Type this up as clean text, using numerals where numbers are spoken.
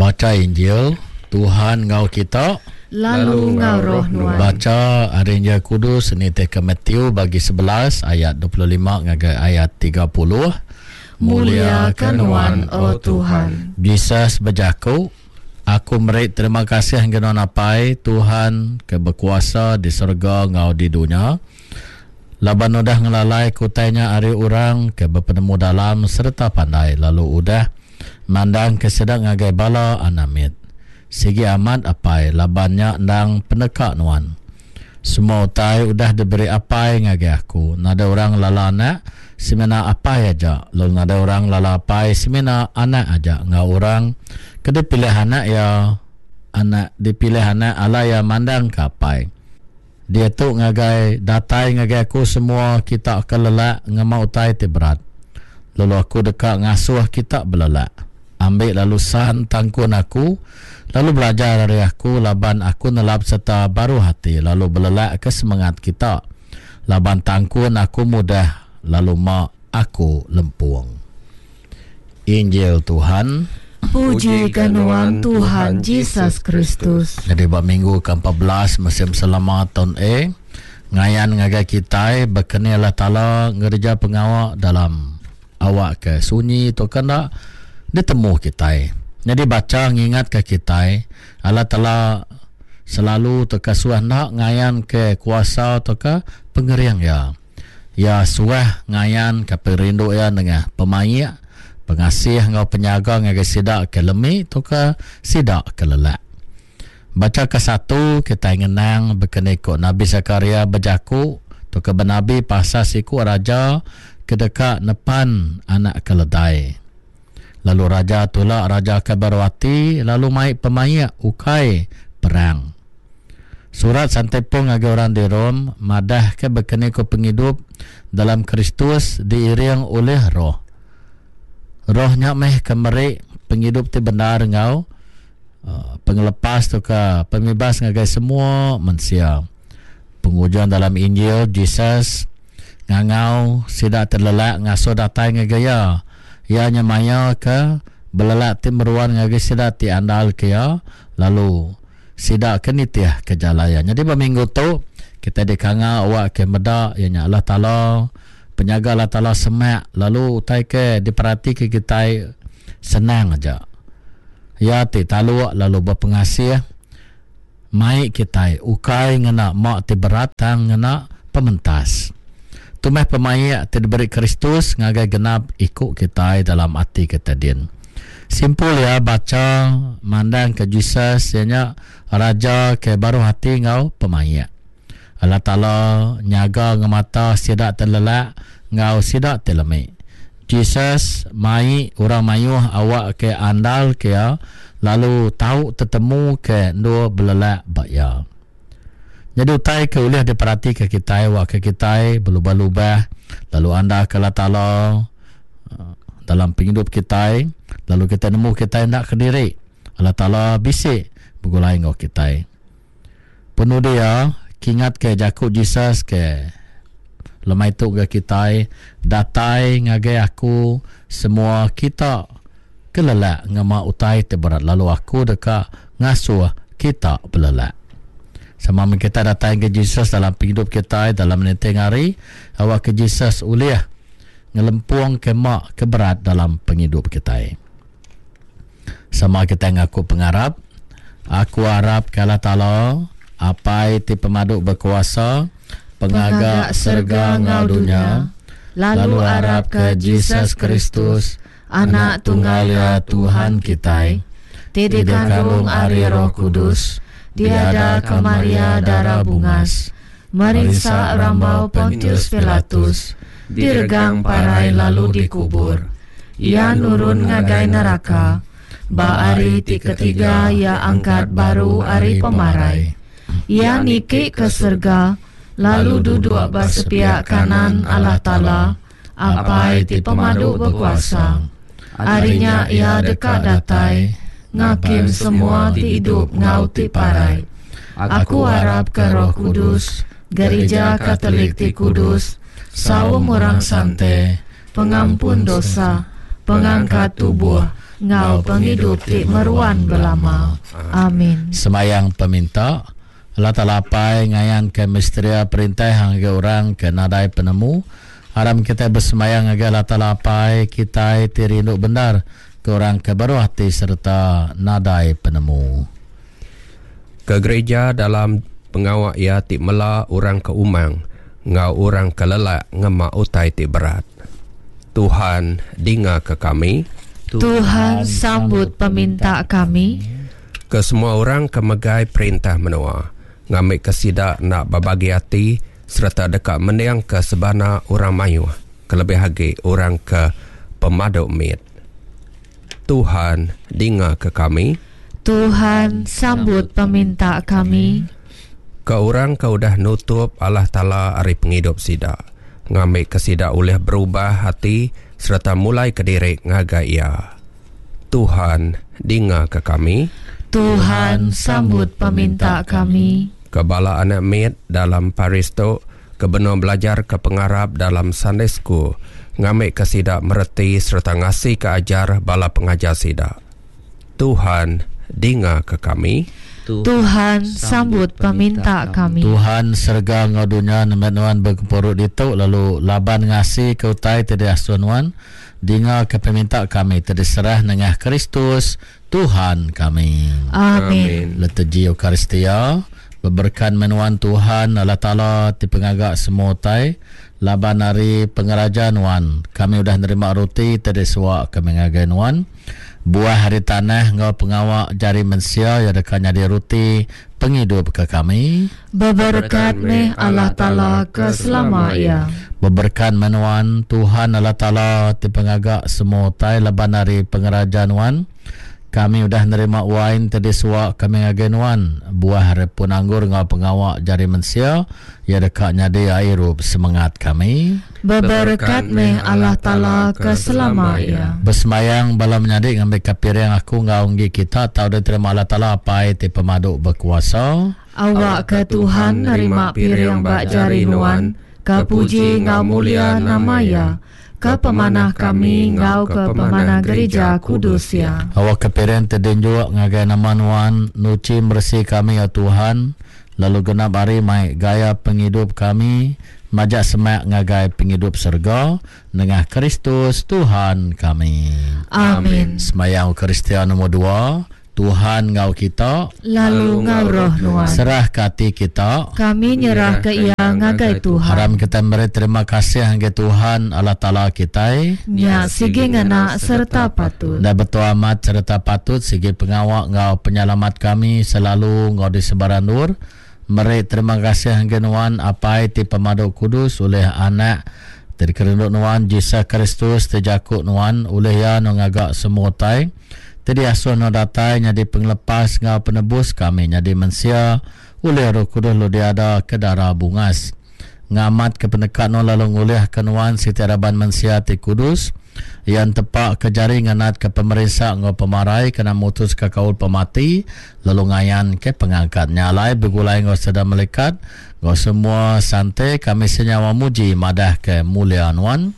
Bacha Injil, Tuhan enggau kita. Lalu enggau roh nuan. Bacha ari Injil Kudus nitihka Matthew bagi 11 ayat 25 ngagai ayat 30. Mulia ke nuan, O Tuhan. Jesus bejaku, Aku meri terima kasih ngagai nuan Apai, Tuhan ke bekuasa di serega enggau di dunya, laban udah ngelalaika utai nya ari orang ke bepenemu-dalam sereta pandai lalu udah mandangka sida ngagai bala anak mit. Sigi amat, Apai, laban nya endang peneka Nuan. Semua utai udah diberi Apai ngagai Aku. Nadai orang ngelala Anak, semina Apai aja, lalu nadai orang ngelala Apai, semina Anak aja, enggau orang ke dipilih Anak iya, Anak dipilih Anak alai iya mandangka Apai. Diatu ngagai datai ngagai Aku semua kita ke lelak ngema utai ti berat, lalu Aku deka ngasuh kita belelak. Ambi lalu san tangkun Aku, lalu belajar ari Aku, laban Aku nelap sereta baruh ati lalu belelakka semengat kita, laban tangkun Aku mudah lalu ma Aku lempung. Injil Tuhan. Puji ka nuan Tuhan Jesus Kristus. Nyadi ba minggu ke 14 musim selama taun A, ngayan ngagai kitai baka ni Allah Taala ngereja pengawa dalam awak ke sunyi tauka enda ditemu kitai. Nyadi bacha ngingatka kitai Allah Taala selalu tauka suah enda ngayanka kuasa tauka pengering iya. Iya suah ngayanka pengerindu iya nengah pemaik, pengasih enggau penyaga ngagai sida ke lemi tauka sida ke lelak. Bacha kesatu, kitai ngenang baka ni ku Nabi Sakaria bejaku tauka benabi pasal siku raja ke deka nepan anak keledai. Lalu raja tula raja ke baruh ati lalu mai pemaik ukai perang. Surat Santai Paul ngagai orang di Rome madahka baka ni ku pengidup dalam Kristus diiring ulih Roh. Roh nya meh ke meri pengidup ti bendar enggau pengelepas tauka pemibas ngagai semua mensia. Pengujung dalam Injil Jesus ngangau sida ti lelak ngasuh datai ngagai iya. Iya nyemayaka belelak ti meruan ngagai sida ti andalka iya lalu Sida ke nitih ke jalai iya. Nyadi ba minggu tu, kitai dikangau awak ke meda iya nya Allah Taala, penyaga Allah Taala semak lalu utai ke diperatika kitai senang aja. Iya ti taluk lalu bepengasih mai kitai ukai ngena ma ti berat tang ngena pementas. Tu meh pemaik ti diberi Kristus ngagai genap iku kitai dalam ati kitai din. Simpul iya bacha mandangka Jesus iya nya Raja ke baruh ati enggau pemaik. Allah Taala nyaga ngemata sida ti lelak enggau sida ti lemi. Jesus mai orang mayuh awakka andalka iya lalu tau tetemuka endur belelak ba iya. Nyadi utai ke ulih diperatika kitai awakka kitai belubah-lubah lalu andalka Allah Taala dalam pengidup kitai lalu kitai nemu kitai enda kediri. Allah Taala bisi begulai enggau kitai. Penudi iya, kingatka jaku Jesus ke lemai tu ga kitai, Datai ngagai aku semua kita ke lelak ngema utai ti berat lalu aku deka ngasuh kita belelak. Sama meh kitai datai ngagai Jesus dalam pengidup kitai dalam ninting hari awakka Jesus ulih ngelempungka ma ke berat dalam pengidup kitai. Sama kitai ngaku pengarap, Aku arap ke Allah Taala, Apai ti pemadu bekuasa, Pengaga serega enggau dunya, lalu arap ke Jesus Kristus, Anak tunggal Iya Tuhan kitai, ti dikandung ari Roh Kudus, diadaka Maria Dara Bungas, merinsa rambau Pontius Pilatus, diregang parai lalu dikubur. Iya nurun ngagai neraka. Ba hari ti ketiga iya angkat baru ari pemarai. Iya niki ke serega lalu duduk ba sepiak kanan Allah Taala, Apai ti Pemadu Bekuasa. Ari nya iya deka datai ngakim semua ti idup enggau ti parai. Aku arapka Roh Kudus, Gerija Katolik ti kudus, saum orang sante, pengampun dosa, pengangkat tubuh, enggau pengidup ti meruan belama. Amin. Semayang peminta, Allah Taala Apai ngayanka misteria perintah ngagai orang ke nadai penemu. Aram kitai besemayang ngagai Allah Taala Apai kitai ti rindu bendar ke orang ke baruh ati sereta nadai penemu. Ke gereja dalam pengawa iya ti mela orang ke umang enggau orang ke lelak ngema utai ti berat. Tuhan dingaka kami. Tuhan sambut peminta kami. Ke semua orang ke megai perintah menua, ngambika sida enda bebagi ati sereta deka mendingka sebana orang mayuh, kelebih agi orang ke pemadu mit. Tuhan dingaka kami. Tuhan sambut peminta kami. Ke orang ke udah nutup Allah Taala ari pengidup sida, ngambika sida ulih berubah ati sereta mulaika diri ngagai Iya. Tuhan dingaka kami. Tuhan sambut peminta kami. Ke bala anak mit dalam paris tu ke benung belajarka pengarap dalam Sunday School ngambika sida mereti sereta ngasika ajar bala pengajar sida. Tuhan dingaka kami. Tuhan sambut peminta kami. Tuhan serega enggau dunya nembiak Nuan begempuru ditu lalu laban ngasika utai ti diasuh Nuan, Dingaka peminta kami ti diserah nengah Kristus, Tuhan kami. Amin. Liturgi Eucharistia, Beberekat meh nuan Tuhan Allah Taala ti pengaga semua utai, laban ari pengeraja nuan kami udah nerima roti ti disuwa kami ngagai nuan. Buah ari tanah enggau pengawa jari mensia iya deka nyadi roti pengidup ke kami. Beberekat meh Allah Taala ke selama iya. Beberekat meh nuan, Tuhan Allah Taala ti pengaga semua utai laban ari pengeraja nuan, kami udah nerima wain ti disuwa kami ngagai nuan, buah ari pun anggur enggau pengawa jari mensia, iya deka nyadi ai irup semengat kami. Beberekat meh Allah Taala ke selama iya. Besembayang bala menyadi ngambika piring aku enggau enggi kita tau diterima Allah Taala Apai ti pemadu bekuasa. Awakka Tuhan nerima piring ba jari nuan, ke puji enggau mulia nama Iya, ke pemanah kami enggau ke pemanah gerija kudus Iya. Awakka piring ti dinjuk ngagai nama Nuan nuchi meresi kami, O Tuhan, lalu genap hari mai gaya pengidup kami majak semak ngagai pengidup serega, nengah Kristus Tuhan kami. Amin. Semayang Eucharistia Nombor dua. Tuhan enggau kita. Lalu enggau roh nuan. Serahka ati kita. Kami nyerahka iya ngagai Tuhan. Aram kitai meri terima kasih ngagai Tuhan Allah Taala kitai. Nya sigi ngena sereta patut. Enda betul amat sereta patut sigi pengawa enggau penyelamat kami selalu enggau di sebarang endur. Meri terima kasih ngagai nuan Apai ti pemadu kudus ulih Anak ti dikerindu nuan Jesus Kristus ti jaku nuan ulih iya nuan ngaga semua utai ti diasuh nuan datai nyadi pengelepas enggau penebus kami nyadi mensia ulih Roh Kudus lalu diada ke dara bungas ngamatka peneka nuan lalu ngulihka nuan siti raban mensia ti kudus. Iya entepaka jari ngenatka pemerinsa enggau pemarai kena mutuska kaul pemati lalu ngayanka pengangkat. Nya alai begulai enggau sida melikat enggau semua sante kami senyawa muji madahka mulia nuan.